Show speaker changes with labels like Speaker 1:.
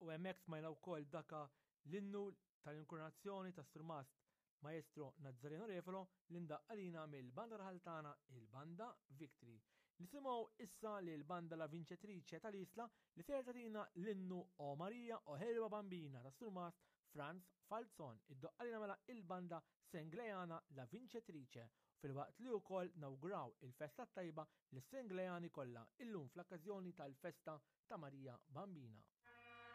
Speaker 1: U hemmhekk smajna wkoll daka l-innu tal-inkurunazzjoni tas-Surmast Maestro Nazzareno Refolo li ndaqq għalina mill-banda raħal tagħna il-Banda Victory. Nisimgħu issa lil Banda La Vincetrice tal-Isla li ser tagħtina l-innu O Maria O Ħelwa Bambina tas-Surmast Franz Falzon. Iddoqq għalina mela il-Banda Senglejana La Vincetrice filwaqt li wkoll nawguraw il-festa t-tajba lis-Senglejani kollha illum fl-okkażjoni tal-festa ta' Marija Bambina.